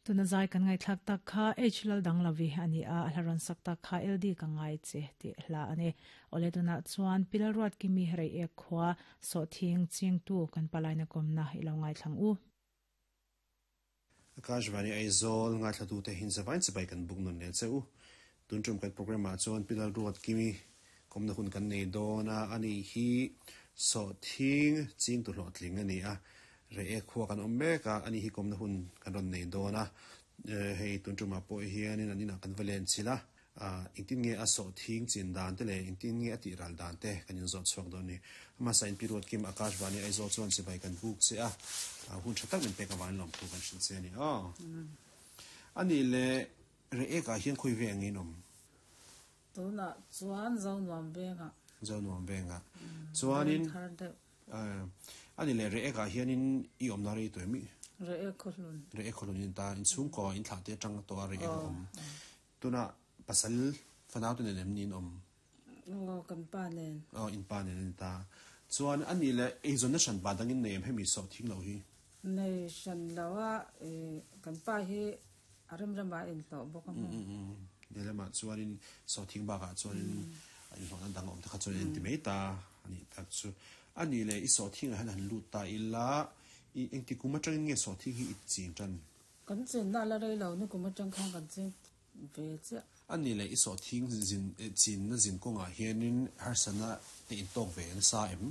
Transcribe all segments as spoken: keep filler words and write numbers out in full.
Tuna zai kan ngai thlak tak kha H lal dang lavi ani a a hlaron sak tak kha L D ka ngai che ti hla ani ole tuna chuan pilal ruat kimi rei ek khwa so thing ching tu kan palaina komna ilo ngai thlang u. Akashvani Aizawl ngai thlatu te hin zawain chibai kan buk nun le cheu tun tum kan program ah chuan pilal ruat kimi komna hun kan nei dawna ani hi so thing ching tu hlawh tling ani a re ek khua kan awm mek a ani hi komna hun kan rawn nei dawna hei tun tumah pawh hianin an inah kan va len chila engtin nge a so thing chin dan te leh engtin nge a tih ral dan te kan inzawt chhuak dawn ni amasa in pi ruat kim Akashvani Aizawl chuan chibai kan buk che a hun tha tak min pek awan lawm thu kan hrilh che ani aw ani le re ek ah hian khawi ve ang in awm tuna chuan zo nuam venga zo nuam venga chuanin ani le re ek ah hianin i awm na rei tawh mi re ek kholun re ek kholun in ta in chhung ko in thlah te atang tawh a re ek awm tuna pasal fanau te nen em ni in awm o kan pa nen o in pa nen in ta chuan ani le eizawn na hran pa dangin nei em hemi sawh thing lo hi nei hran lo a e kan pa hi a rem rema in hlawh bawk a mu lehlamah chuanin sawh thing bakah chuanin in hlawhna dang awm te kha chuan in ti mai ta ani tak chu ani le i sawh thing ah hian han lut ta ila i engti kum atangin nge sawh thing hi i ching tan kan chin na la rei lo ni kum atang khan kan ching ve chiah ani le i sawh thing zin chin na zin kawngah hianin harsana te in tawk ve nasa em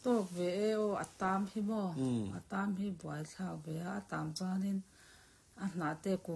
tawk ve e aw a tam hi maw a tam hi buai thlak ve a a tam chuanin a hnah te kung